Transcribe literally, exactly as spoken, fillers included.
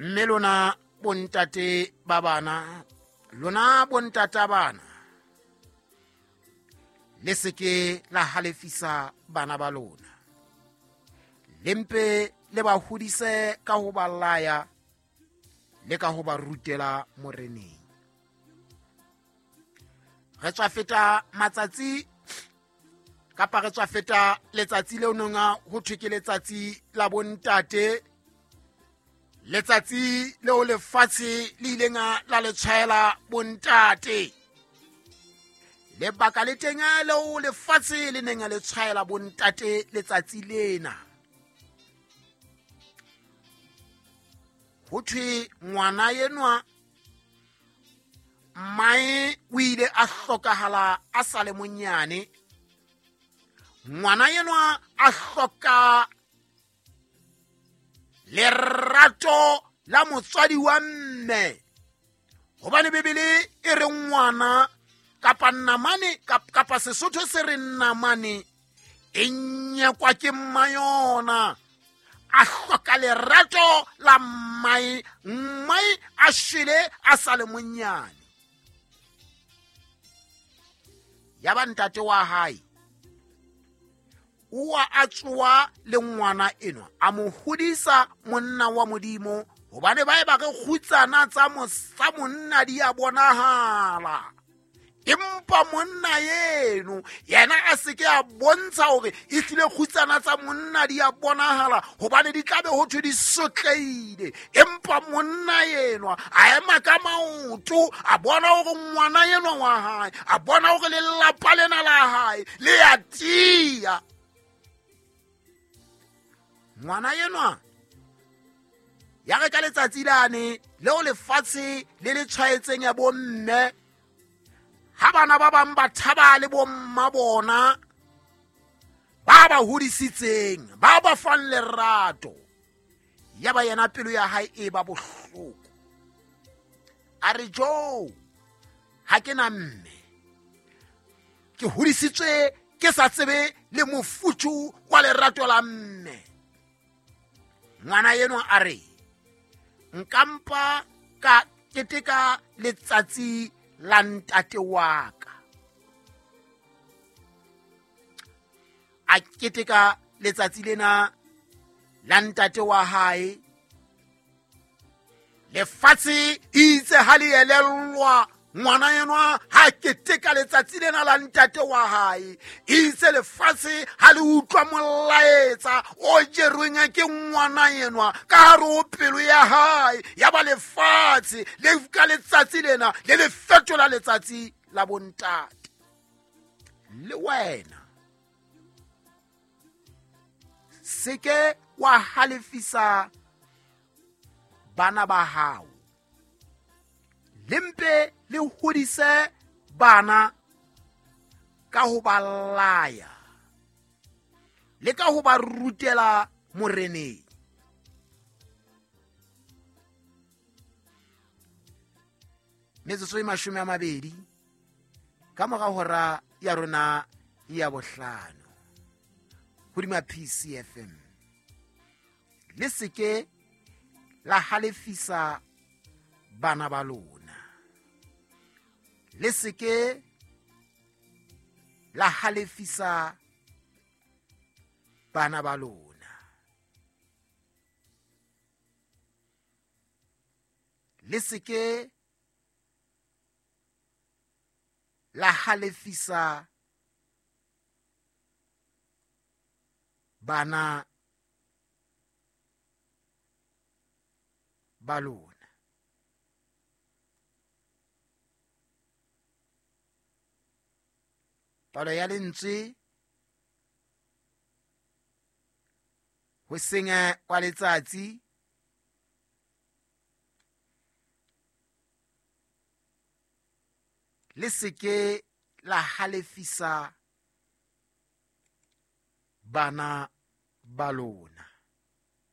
Mme lona bontate ba bana, lona bontata bana, le seke la halefisa bana ba lona. Le mpe le ba hodise ka ho ba laya le ka ho ba rutela moreneng. Re tswa feta matsatsi kapa re tswa feta letsatsi leo nonga ho thwe ke letsatsi la bontate, letsatsi leo lefatshe le ileng la le tshwaela bontate. Lebaka le teng leo lefatshe le neng le tshwaela bontate letsatsi lena, ho thwe ngwana enwa mmae o ile a hlokahala a sa le monyane. Ngwana enwa a hloka lerato la motswadi wa mme, hobane Bibele e re ngwana kapa namane kapa Sesotho se re namane e nyakwa ke mmayona. A hloka lerato la mmae, mmae a shwele a sa le monyane. Ya ba ntate wa hae o a tsoa le ngwana enwa, a mo hodisa monna wa Modimo, hobane ba e ba re kgutsana tsa tsa monna di a bonahala. Empa monna eno yena a seke a bontsha hore e hlile kgutsana tsa monna di a bonahala, hobane di tlabe ho thwe di sotleile. Empa monna enwa a ema ka maoto, a bona hore ngwana enwa wa hae, a bona hore lelapa lena la hae le a tiya. Ngwana enwa ya re ka letsatsi lane leo lefatshe le le tshwaetseng ya bomme, ha bana ba bang ba thaba le bomma bona ba ba hodisitseng, ba ba fang lerato, ya ba yena pelo ya hae e ba bohloko. A re jo, ha ke na mme, ke hodisitswe ke sa tsebe le mofuthu wa lerato la mme. Ngwana enwa a re nkampa ka keteka letsatsi la ntate wa ka. A keteka letsatsi lena la ntate wa hae. Lefatshe itse ha le elellwa ngwana enwa ha keteka letsatsi lena la ntate wa hae, itse lefatshe ha le utlwa molaetsa o jerweng ke ngwana enwa ka hare ho pelo ya hae, ya ba lefatshe le ka letsatsi lena le le fetola letsatsi la bontate. Le wena seke wa halefisa bana ba hao, le mpe le hodise bana ka ho ba laya le ka ho ba rutela moreneng. Metsotso e mashome a mabedi ka mora hora ya rona ya bohlano hodima P C F M. Le seke la halefisa bana ba lona, le seke la halefisa bana ba lona, le seke la halefisa bana ba lona. Palo ya lentswe ho senya kwa letsatsi le seke la halefisa bana ba lona.